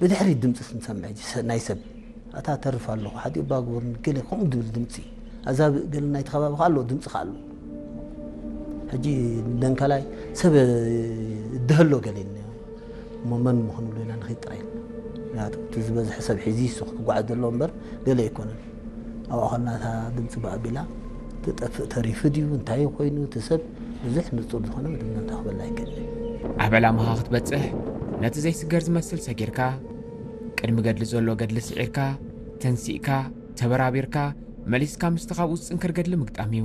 ብድሕሪት ድምፂ ስንሰምዕ ሕጂ ሰ- ናይ ሰብ ኣታ ተርፍ ኣለኹ ሓዲ እባ ግበሩኒ ገለ ከምኡ ዝብል ድምፂ ኣዛብእ ገለ ናይቲ ከባቢ ከ ኣለዎ ድምፂ ከ ኣለዎ። ሕጂ ደንከላይ ሰብ እድሀሎ ገለ እሞ መን ምኾኑ ሌላ ንኸይድ ጥራይ ኢልና ምክንያቱ እቲ ዝበዝሐ ሰብ ሒዚ ይሱ ክጓዓዝ ዘለዎ እምበር ገለ ኣይኮነን። ኣብኣ ኸና እታ ድምፂ ብኣቢላ ትጠፍእ ተሪፉ ድዩ እንታይ ኮይኑ እቲ ሰብ ብዙሕ ንፁር ዝኾነ መደምደምታ ክበላ ኣይክእልን። ኣብ ዕላማኻ ክትበፅሕ ነቲ ዘይስገር ዝመስል ሰጊርካ ቅድሚ ገድሊ ዘሎ ገድሊ ስዒርካ ተንሲእካ ተበራቢርካ መሊስካ ምስቲ ካብኡ ዝፅንክር ገድሊ ምግጣም እዩ።